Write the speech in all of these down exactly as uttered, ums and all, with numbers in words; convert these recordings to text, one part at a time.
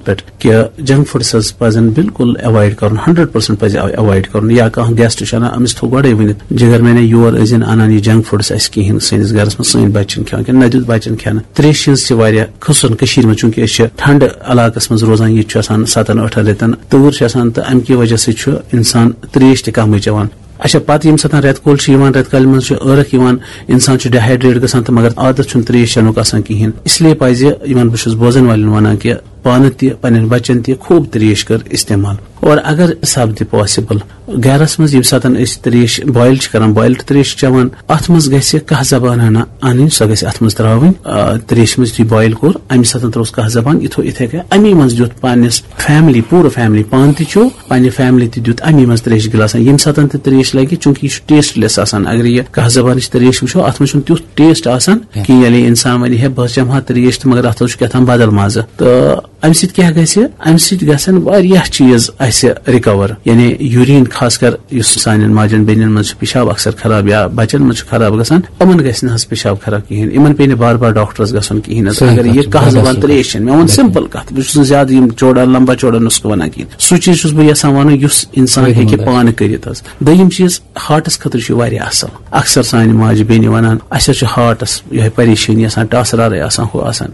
پٮ۪ٹھ کہِ junk foods حظ پزن بالکل ایوائڈ کرُن، ہنڈریڈ پرسنٹ پزِ ایوائڈ کرُن۔ یا کانٛہہ گیسٹ چھُ انان، أمِس تھوٚو گۄڈے ؤنِتھ، جگر میانہِ یور ٲسۍ زن انان یہِ جنک فوڈس اَسہِ کِہیٖنۍ سٲنِس گرس منٛز، سٲنۍ بچن کھٮ۪وان کِنہٕ نہ دیُت بچن کھٮ۪نہٕ۔ تریش ہٕنٛز چھِ واریاہ، خصوصاً کٔشیٖرِ منٛز، چوٗنٛکہِ أسۍ چھِ ٹھنڈٕ علاقس منٛز روزان، ییٚتہِ چھُ آسان ستن ٲٹھن رٮ۪تن تۭر چھِ آسان، تہٕ امہِ کہِ وجہ سۭتۍ چھُ انسان تریش تہِ کمٕے چٮ۪وان۔ اچھا، پتہٕ ییٚمہِ ساتہٕ رٮ۪تہٕ کول چھُ یِوان، رٮ۪تہٕ کالہِ منٛز چھُ ٲرکھ یِوان، انسان چھُ ڈیہائیڈریٹ گژھان، تہٕ مگر عادت چھُنہٕ تریش چٮ۪نُک آسان کِہیٖنۍ۔ اس لیے پزِ یِمن، بہٕ چھُس بوزن والٮ۪ن ونان کہِ پانہٕ تہِ، پننٮ۪ن بچن تہِ خوب تریش کٔر استعمال۔ اور اگر سپدِ پاسبل، گرس منٛز ییٚمہِ ساتہٕ أسۍ تریش بوائل چھِ کران، بوائلڈ تریش چھِ چٮ۪وان، اتھ منٛز گژھِ کاہ زبان ہنا انٕنۍ، سۄ گژھِ اتھ منٛز تراوٕنۍ۔ آ، تریش منٛز یُتھُے بوائل کوٚر، امہِ ساتہٕ ترووس کاہ زبان، یِتھو یِتھے کٔنۍ امی منٛز دیُت پننِس فیملی، پوٗرٕ فیملی، پانہٕ تہِ چیوٚو، پننہِ فیملی تہِ دیُت امی منٛز تریش گلاسن۔ ییٚمہِ ساتہٕ تہِ تریش لگہِ، چوٗنٛکہِ یہِ چھُ ٹیسٹ لیس آسان، اگر یہِ کاہ زبانٕچ تریش وٕچھو، اتھ منٛز چھُنہٕ تیُتھ ٹیسٹ آسان کینٛہہ۔ کینٛہہ۔ ییٚلہِ انسان ونہِ ہے بہٕ حظ چٮ۪مہٕ ہا تریش تہٕ مگر اتھ حظ چھُ کیٛاہ تام بدل مزٕ۔ تہٕ امہِ سۭتۍ کیٛاہ گژھِ؟ امہِ سۭتۍ گژھن واریاہ چیٖز اسہِ ریکور، یعنی یوریٖن، خاص کر یُس سانٮ۪ن ماجن بیٚنٮ۪ن منٛز چھُ پیشاب اکثر خراب یا بچن منٛز چھُ خراب گژھان، یِمن گژھِ نہٕ حظ پیشاب خراب کِہیٖنۍ، یِمن پیٚیہِ نہٕ بار بار ڈاکٹرس گژھُن کِہیٖنۍ حظ۔ صحیح اگر کتھ یہِ چھِ، کاہ واریاہ زبان صحیح۔ تریش چھَنہٕ، مےٚ ووٚن بِلکُل۔ سمپل کتھ، بہٕ چھُس نہٕ زیادٕ یِم چوڑا لمبا چوڑا نُسخہٕ ونان کِہیٖنۍ۔ سُہ چیٖز چھُس بہٕ یژھان ونُن یُس انسان صحیح ہیٚکہِ مطلب۔ پانہٕ کٔرِتھ حظ۔ دوٚیِم چیٖز، ہارٹس خٲطرٕ چھُ یہِ واریاہ اصل۔ اکثر سانہِ ماجہِ بیٚنہِ ونان، اسہِ حظ چھُ ہارٹس یِہے پریشٲنی آسان، ٹاسہٕ رارے آسان، ہُہ آسان۔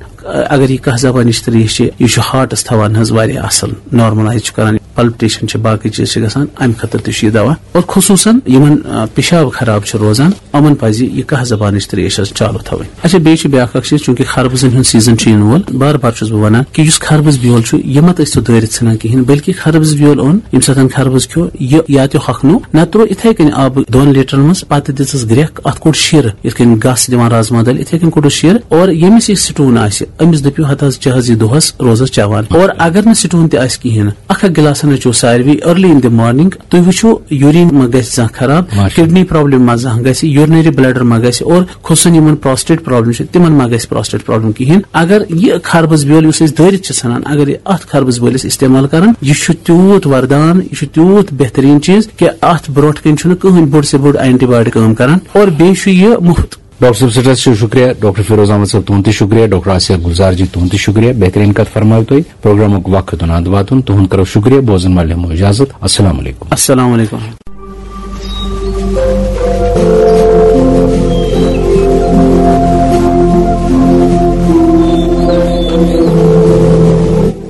اگر یہِ کاہ زبانٕچ تریش چھِ، یہِ چھُ ہارٹس تھاوان حظ واریاہ اصل، نارملائز چھُ کران، پلپٹیشن چھِ، باقٕے چیٖز چھِ گژھان، امہِ خٲطرٕ تہِ چھُ یہِ دوا۔ اور خصوٗصاً یِمن، آ، پیشاب خراب چھُ روزان، یِمن پزِ یہِ کاہ زبانٕچ تریش حظ چالو تھاوٕنۍ۔ اچھا، بیٚیہِ چھِ بیٛاکھ اکھ چیٖز، چوٗنٛکہِ خربٕزن ہُنٛد سیزن چھُ یِنہٕ وول، بار بار چھُس بہٕ ونان کہِ یُس خربٕز بیول چھُ، یہِ مہ تٔسۍ تو دٲرِتھ ژھٕنان کِہیٖنۍ، بلکہِ خربٕز بیول اوٚن، ییٚمہِ ساتہٕ خربٕز کھیوٚو، یہِ یا تہِ ہۄکھنوو، نتہٕ ترٛوو یِتھے کٔنۍ آبہٕ دۄن لیٹرن منٛز، پتہٕ دِژٕس گرٛٮ۪کھ، اتھ کوٚڑ شیٖرٕ، یِتھ کٔنۍ گس دِوان رازما دٲلۍ، یِتھے کٔنۍ کوٚڑُس شیٖرٕ۔ اور ییٚمِس یہِ سٹون آسہِ، أمِس دٔپِو ہتا حظ، چہ حظ یہِ دۄہس روزس چٮ۪وان۔ اور اگر نہٕ سٹون تہِ آسہِ کِہیٖنۍ، اکھ اکھ گِلاس ہنا چیٚیِو ساروی early in the morning۔ تُہۍ وٕچھِو، یوریٖن ما گژھِ زانٛہہ خراب، ماشاءاللہ۔ کڈنی پرابلم ما زانٛہہ گژھِ، یورنری بلیڈر ما گژھِ، اور خصوصاً یِمن پراسٹیٹ پرابلم چھِ، تِمن ما گژھِ پراسٹیٹ پرابلم کِہیٖنۍ۔ اگر یہِ خربٕز بیول یُس أسۍ دٲرِتھ چھِ ژھٕنان، اگر یہِ اتھ خربٕز بٲلِس استعمال کران، یہِ چھُ تیوٗت وردان، یہِ چھُ تیوٗت بہتریٖن چیٖز کہِ اتھ برونٛٹھ کنہِ چھُنہٕ کٕہٕنۍ بوٚڑ سے بوٚڑ اینٹی بایوٹک کٲم کران، اور بیٚیہِ چھُ یہِ مُفت۔ ڈاکٹر صٲب سٮ۪ٹھاہ چھُ شُکریہ، ڈاکٹر فیروز احمد صٲب تُہُنٛد تہِ شُکریہ، ڈاکٹر آسیہ گُلزار جی تُہُنٛد تہِ شُکریہ، بہتریٖن کتھ فرمٲو تۄہہِ۔ پروگرامُک وقت اوٚن اند واتُن، تُہُنٛد کرو شُکریہ، بوزن والٮ۪ن ہٮ۪مو اجازت، السلام علیکم۔ السلام علیکم۔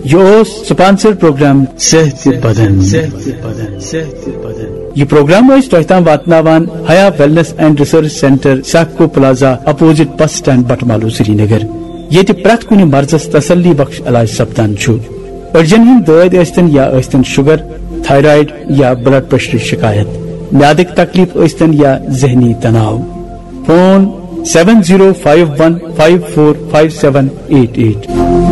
یہِ اوس سپانسر پروگرام صحت بدن۔ یہِ پروگرام ٲسۍ تۄہہِ تام واتناوان Haya wellness and research centre, Sifco plaza, opposite bus stand, Batmaloo, Srinagar, ییٚتہِ پرٛٮ۪تھ کُنہِ مرضس تسلی بخش علاج سپدان چھُ۔ أڈجن ہٕنٛدۍ دٲدۍ ٲسۍتن یا ٲسۍتن شُگر، تھایرایڈ یا بلڈ پریشرٕچ شکایت، میادٕکۍ تکلیف ٲسۍتن یا ذہنی تناو۔ Phone seven zero five one five four five seven eight eight۔